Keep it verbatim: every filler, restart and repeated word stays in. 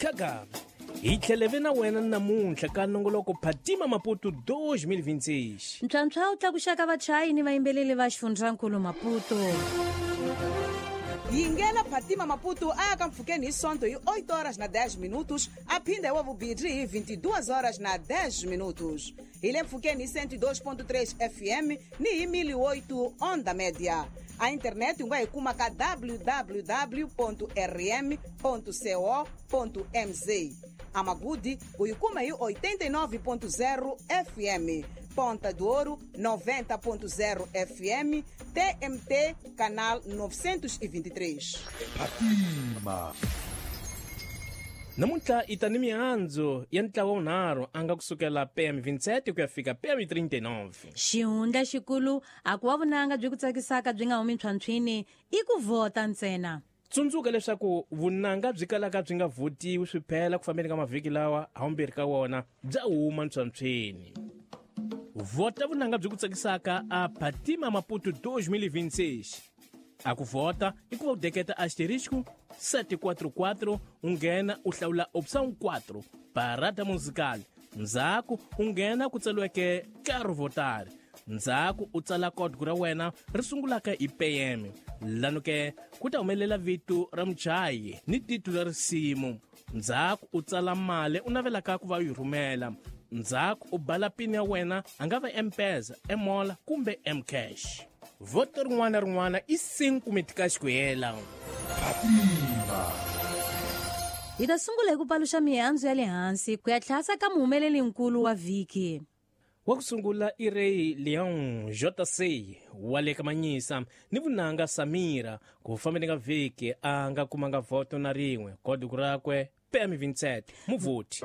Kaka hi tlheleve na wena namuntlha ka nongoloko Phatima Maputo twenty twenty-six. Ntlhantlha wu tlakuxaka vachayi ni vayimbeleli va xifundzankulu Maputo. Yingela Phatima Maputo a ya ka mpfhukeni hi Sonto hi oito horas na dez minutos, a phinda hi wa vumbirhi hi vinte e duas horas na dez minutos. Hi le mpfhukeni hi cento e dois ponto três F M ni hi mil e oito onda média. A internet u nga yi kuma ka w w w ponto r m ponto co ponto m z. A Magude u yi kuma hi oitenta e nove ponto zero F M. Ponta do Ouro noventa ponto zero F M, T M T canal novecentos e vinte e três. Phatima. Namuntlha i ta ni mihandzu ya ntlawa wunharhu a nga kusukela P M vinte e sete ku ya fika P M trinta e nove. Xihundla xikulu a ku wa vunanga byi ku tsakisaka byi nga humi ntlhwantlhwini i ku vhota ntsena. Tsundzuka leswaku vunanga byi kalaka byi nga vhotiwi swi phela ku fambeni ka mavhiki lawa hawumbirhi ka wona bya huma ntlhwantlhwini. Vhota vunanga byi ku tsakisaka a Phatima Maputo dois mil e vinte e seis. A ku vhota i ku va u deketa asterisco sete quatro quatro u nghena u hlawula opção quatro parada musical. Ndzhaku u nghena ku tsariweke Quero votar. Ndzhaku u tsala código ra wena ri sungulaka hi P M. Lano ke ku ta humelela vito ra muchayi ni titulu ra risimu. Ndzhaku u tsala mali u navelaka ku va u yi rhumela. Ndzhaku u bala pin ya wena a nga va M-Pesa, M-Mola kumbe M-Cash. Voto rin'wana na rin'wana i cinco mitikaxi ku hela. Hi ta sungula hi ku paluxa mihandzu ya le hansi ku ya tlhasa ka muhumelelinkulu wa vhiki. Wa ku sungula i Rey Leon J C wa le ka Manyisa ni vunanga Samira ku fambeni ka vhiki a nga kumanga voto na rin'we. Kódigo rakwe P M vinte e sete muvhoti.